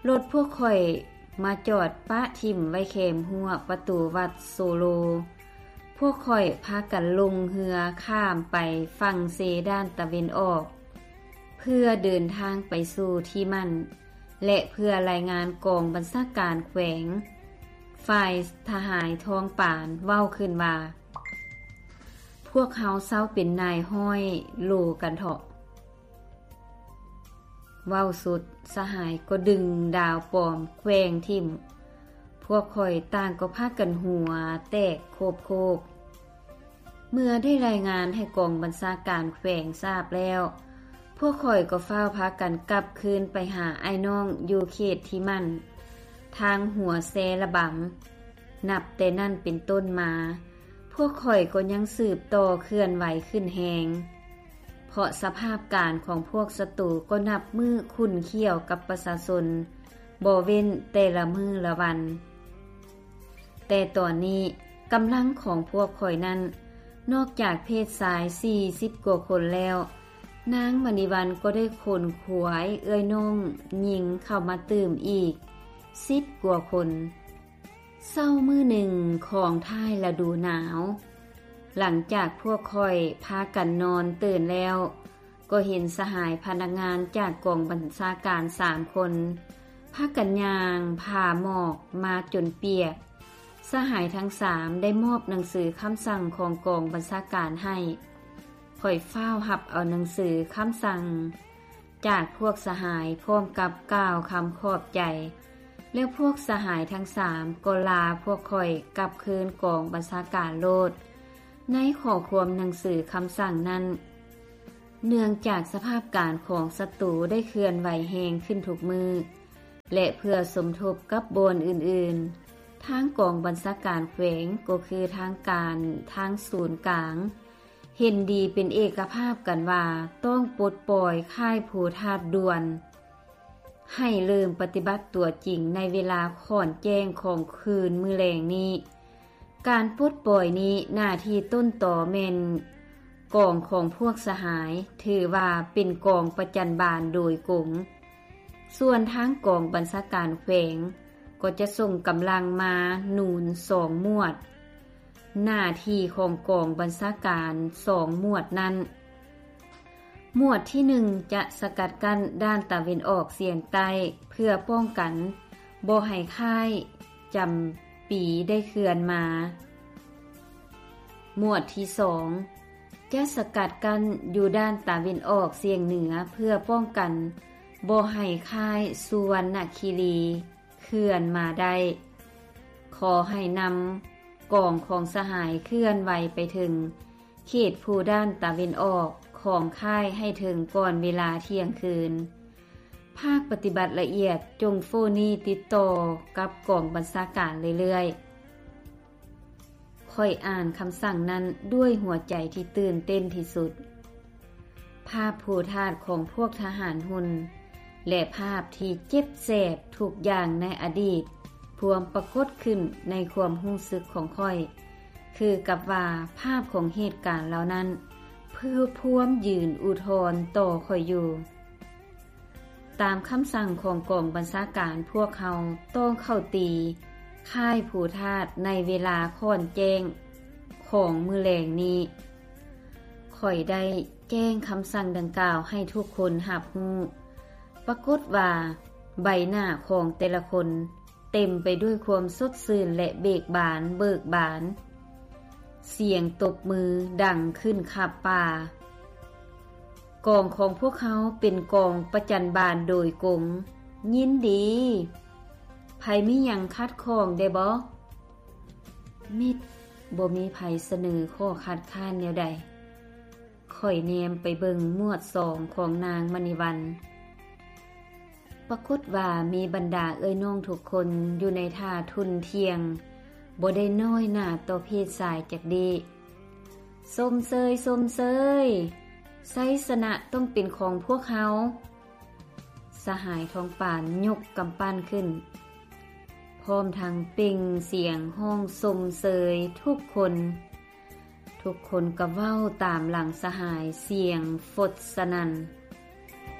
ລົດພວກຂ້ອຍມາຈອດປະຖິ້ມໄວ້ແຄມຮົ້ວປະຕູວັດໂຊໂລ. ພວກຂ້ອຍພາກັນລົງເຮືອຂ້າມໄປຝັ່ງເຊດ້ານຕາເວັນອອກ ເພື່ອເດີນທາງໄປສູ່ທີ່ໝັ້ນ ແລະ ເພື່ອລາຍງານກອງບັນຊາການແຂວງ. ຝ່າຍທະຫາຍທອງປານເວົ້າຂຶ້ນວ່າ, ພວກເຮົາເຊົາເປັນນາຍຮ້ອຍໂລກັນເຖາະ. ເວົ້າສຸດ, ສະຫາຍກໍດຶງດາວປອມແກວ່ງຖິ້ມ. ພວກຂ້ອຍຕ່າງກໍພາກັນຫົວແຕກໂຄບໆ. ເມື່ອໄດ້ລາຍງານໃຫ້ກອງບັນຊາການແຂວງຊາບແລ້ວ, ພວກຂ້ອຍກໍຟ້າວພາກັນກັບຄືນໄປຫາອ້າຍນ້ອງຢູ່ເຂດທີ່ໝັ້ນ ທາງຫົວແຊລະບຳ. ນັບແຕ່ນັ້ນເປັນຕົ້ນມາ, ພວກຂ້ອຍກໍຍັງສືບຕໍ່ເຄື່ອນໄຫວຂຶ້ນແຮງ, ເພາະສະພາບການຂອງພວກສັດຕູກໍນັບມື້ຂຸ້ນຂ້ຽວກັບປະຊາຊົນບໍ່ເວັ້ນແຕ່ລະມື້ລະວັນ. ແຕ່ຕອນນີ້ກຳລັງຂອງພວກຂ້ອຍນັ້ນ, ນອກຈາກເພດຊາຍສີ່ສິບກວ່າຄົນແລ້ວ, ນາງມະນີວັນກໍໄດ້ຂົນຂວາຍເອື້ອຍນ້ອງຍິງເຂົ້າມາຕື່ມອີກສິບກວ່າຄົນ. ເຊົ້າມື້ໜຶ່ງຂອງທ້າຍລະດູໜາວ, ຫຼັງຈາກພວກຂ້ອຍພາກັນນອນຕື່ນແລ້ວ, ກໍເຫັນສະຫາຍພະນັກງານຈາກກອງບັນຊາການສາມຄົນ ພາກັນຍ່າງຜ່າໝອກມາຈົນປຽກ. ສະຫາຍທັງສາມໄດ້ມອບໜັງສືຄຳສັ່ງຂອງກອງບັນຊາການໃຫ້. ຂ້ອຍຟ້າວຮັບເອົາໜັງສືຄຳສັ່ງຈາກພວກສະຫາຍ ພ້ອມກັບກ່າວຄຳຂອບໃຈ, ແລ້ວພວກສະຫາຍທັງສາມກໍລາພວກຂ້ອຍກັບຄືນກອງບັນຊາການໂລດ. ໃນຂໍ້ຄວາມໜັງສືຄຳສັ່ງນັ້ນ, ເນື່ອງຈາກສະພາບການຂອງສັດຕູໄດ້ເຄື່ອນໄຫວແຮງຂຶ້ນທຸກມື້ ແລະ ເພື່ອສົມທົບກັບບ່ອນອື່ນໆ, ທາງກອງບັນຊາການແຂວງ ກໍຄືທາງການທາງສູນກາງ ເຫັນດີເປັນເອກະພາບກັນວ່າຕ້ອງປົດປ່ອຍຄ້າຍພູທາດດ່ວນ, ໃຫ້ເລີ່ມປະຕິບັດຕົວຈິງໃນເວລາຂ້ອນແຈ້ງຂອງຄືນມື້ແລງນີ້. ການປົດປ່ອຍນີ້ໜ້າທີ່ຕົ້ນຕໍແມ່ນກອງຂອງພວກສະຫາຍ, ຖືວ່າເປັນກອງປະຈັນບານໂດຍກົງ. ສ່ວນທາງກອງບັນຊາການແຂວງກໍຈະສົ່ງກຳລັງມາໜູນສອງໝວດ. ໜ້າທີ່ຂອງກອງບັນຊາການສອງໝວດນັ້ນ, ໝວດທີໜຶ່ງຈະສະກັດກັ້ນດ້ານຕາເວັນອອກສຽງໃຕ້ ເພື່ອປ້ອງກັນບໍ່ໃຫ້ຄ້າຍຈຳປີໄດ້ເຄື່ອນມາ. ໝວດທີສອງຈະສະກັດກັ້ນຢູ່ດ້ານຕາເວັນອອກສຽງເໜືອ ເພື່ອປ້ອງກັນບໍ່ໃຫ້ຄ້າຍສຸວັນນະຄີລີເຄື່ອນມາໄດ້. ຂໍໃຫ້ນຳກອງຂອງສະຫາຍເຄື່ອນໄຫວໄປເຖິງເຂດພູດ້ານຕາເວັນອອກຂອງຄ້າຍໃຫ້ເຖິງກ່ອນເວລາທ່ຽງຄືນ. ພາກປະຕິບັດລະອຽດຈົ່ງໂຟນີຕິດຕໍ່ກັບກອງບັນຊາການເລື້ອຍໆ. ຂ້ອຍອ່ານຄຳສັ່ງນັ້ນດ້ວຍຫົວໃຈທີ່ຕື່ນເຕັ້ນທີ່ສຸດ. ພາບພູທາດຂອງພວກທະຫານຮຸ່ນ ແລະ ພາບທີ່ເຈັບແສບທຸກຢ່າງໃນອະດີດ ພວມປາກົດຂຶ້ນໃນຄວາມຮູ້ສຶກຂອງຂ້ອຍ, ຄືກັບວ່າພາບຂອງເຫດການເຫຼົ່ານັ້ນ ພວມຢືນອຸທອນຕໍ່ຂ້ອຍຢູ່. ຕາມຄຳສັ່ງຂອງກອງບັນຊາການ, ພວກເຮົາຕ້ອງເຂົ້າຕີຄ້າຍພູທາດໃນເວລາຂ້ອນແຈ້ງຂອງມື້ແລງນີ້. ຂ້ອຍໄດ້ແຈ້ງຄຳສັ່ງດັ່ງກ່າວໃຫ້ທຸກຄົນຮັບຮູ້. ປາກົດວ່າໃບໜ້າຂອງແຕ່ລະຄົນເຕັມໄປດ້ວຍຄວາມສົດຊື່ນ ແລະ ເບີກບານ, ເບີກບານ. ສຽງຕົບມືດັງຂຶ້ນຄັບປ່າ. ກອງຂອງພວກເຮົາເປັນກອງປະຈັນບານໂດຍກົງ. ຍິນດີ. ໃຜມີຫຍັງຂັດຂ້ອງແດ່ບໍ? ມິດ. ບໍ່ມີໃຜສະເໜີຂໍ້ຄັດຄ້ານແນວໃດ. ຂ້ອຍແນມໄປເບິ່ງໝວດສອງຂອງນາງມະນີວັນ. ປາກົດວ່າມີບັນດາເອື້ອຍນ້ອງທຸກຄົນຢູ່ໃນທ່າທຸ່ນທ່ຽງ, ບໍ່ໄດ້ນ້ອຍໜ້າຕໍ່ເພດຊາຍຈັກດີ້. ຊົມເຊີຍ, ຊົມເຊີຍ! ໄຊຊະນະຕ້ອງເປັນຂອງພວກເຮົາ! ສະຫາຍທອງປານຍົກກຳປັ້ນຂຶ້ນ, ພ້ອມທັງເປັ່ງສຽງຮ້ອງຊົມເຊີຍທຸກຄົນ. ທຸກຄົນກໍເວົ້າຕາມຫຼັງສະຫາຍສຽງຟົດສະໜັ່ນ.